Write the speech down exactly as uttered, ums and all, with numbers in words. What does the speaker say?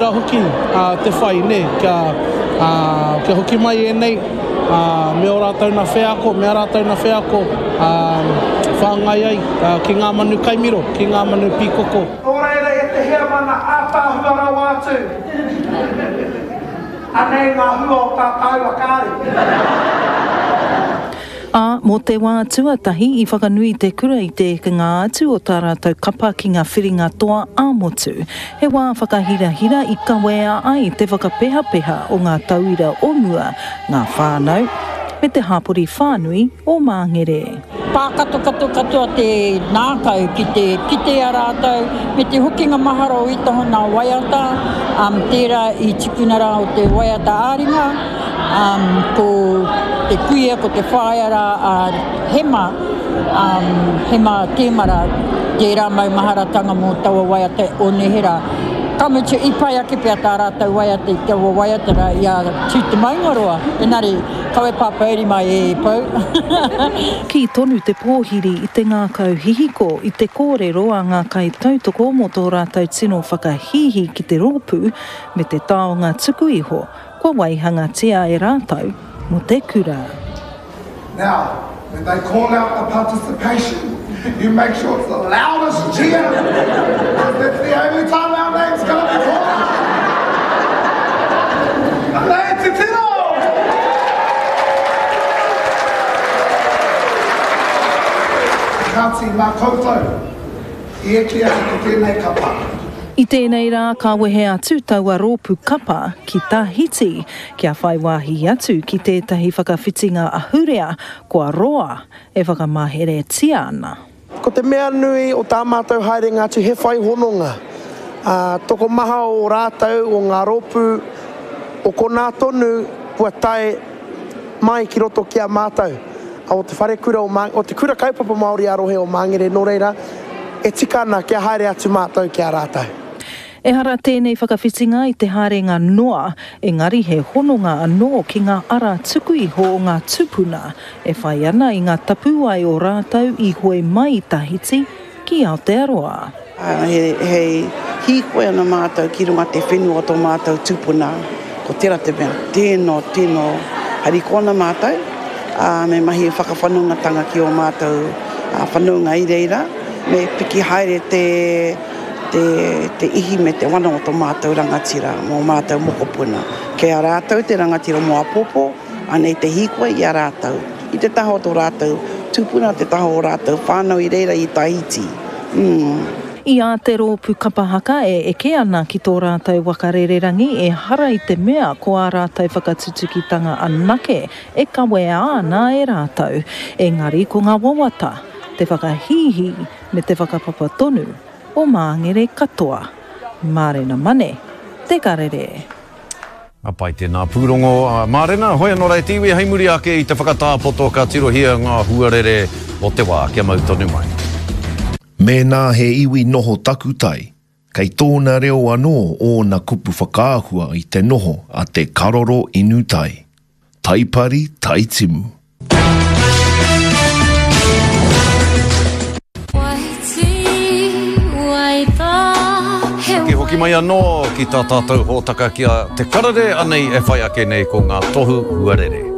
Tērā hoki te whai, nē, kia, kia hoki mai ēnei me ō rātou nā wheako, me ā rātou nā wheako whāngai ai ki ngā manu kaimiro, ki ngā manu pīkoko. Nō reira e te heamana ātaahua rawa atu, anei ngā hua o tā tāua kāri. Ā, mō te wā tuatahi i whakanui te kura i te ekenga atu o tā rātou kapa ki ngā whiringa toa ā-motu. He wā whakahirahira i kawea ai te whakapehapeha o ngā tauira o mua, ngā whānau, me te hapori whānui o Māngere. Pākatokato katoa te ngākau ki te kite i a rātou, me te hokinga mahara o ētahi o ngā waiata, tērā i tukuna rā o te waiata ā-ringa, ko te kuia, ko te whaea rā a Hema, Hema Tēmara, tērā maumaharatanga mō taua waiata o neherā. Ka mutu, i pai ake pea tā rātou waiata i taua waiata rā i a Tū Te Maungaroa, engari kawe pāpōuri mai e Pou. Kī tonu te pōhiri i te ngākau hihiko i te kōrero a ngā kaitautoko mō tō rātou tino whakahīhī ki te rōpū me te taonga tuku iho kua waihangatia e rātou mō te kura. Now, when they call out the participation, you make sure it's the loudest cheer, because that's the only time our name's gonna be called out. Lei titiro! Kāti, mā koutou i eke ake ko tēnei kapa. I tēnei rā ka wehe atu taua rōpū kapa ki Tahiti kia whai wāhi atu ki tētahi whakawhitinga ahurea kua roa e whakamaheretia ana. Ko te mea nui o tā mātou haerenga atu he whai hononga. Ā, tokomaha o rātou o ngā rōpū o konā tonu kua tae mai ki roto ki a mātou o te wharekura o Māngere, o te Kura Kaupapa Māori ā-rohe o Māngere, nō reira, e tika ana kia haere atu mātou ki a rātou. Ehara tēnei whakawhitinga i te haerenga noa, engari he hononga anō ki ngā ara tuku iho o ngā tūpuna e whai ana i ngā tapuwae o rātou i hoe mai i Tahiti ki Aotearoa. He hīkoi ana mātou ki runga te whenua o tō mātou tupuna, ko tērā te mea tino, tino harikoa ana mātou, ā, me mahi whakawhanaungatanga ki ō mātou whanaunga i reira, me piki haere te, te, te ihi me te wana o tō mātou rangatira mō mātou mokopuna. Kei a rātou te rangatira mō āpōpō, anei te hīkoi i a rātou, i te taha o tō rātou tupuna, te taha o rātou whānau i reira i Tahiti. Mm. I a te rōpū kapa haka e eke ana ki tō rātou waka rererangi, ehara i te mea ko ā rātou whakatutukitanga anake e kawea ana e rātou, engari ko ngā wawata, te whakahīhī me te whakapapa tonu o Māngere katoa. Mārena Mane, Te Karere. Ka pai tēnā pūrongo a Mārena, hoi anō rā e te iwi hei muri ake i te whakatāpoto ka tirohia ngā huarere o te wā kia mau tonu mai. Mēnā he iwi noho takutai, kei tōna reo anō ōna kupu whakaahua i te noho a te karoro inu tai. Taipari, taitimu. Ki hoki mai anō ki tā tātou hōtaka ki a Te Karere, anei e whai ake nei ko ngā tohu huarere.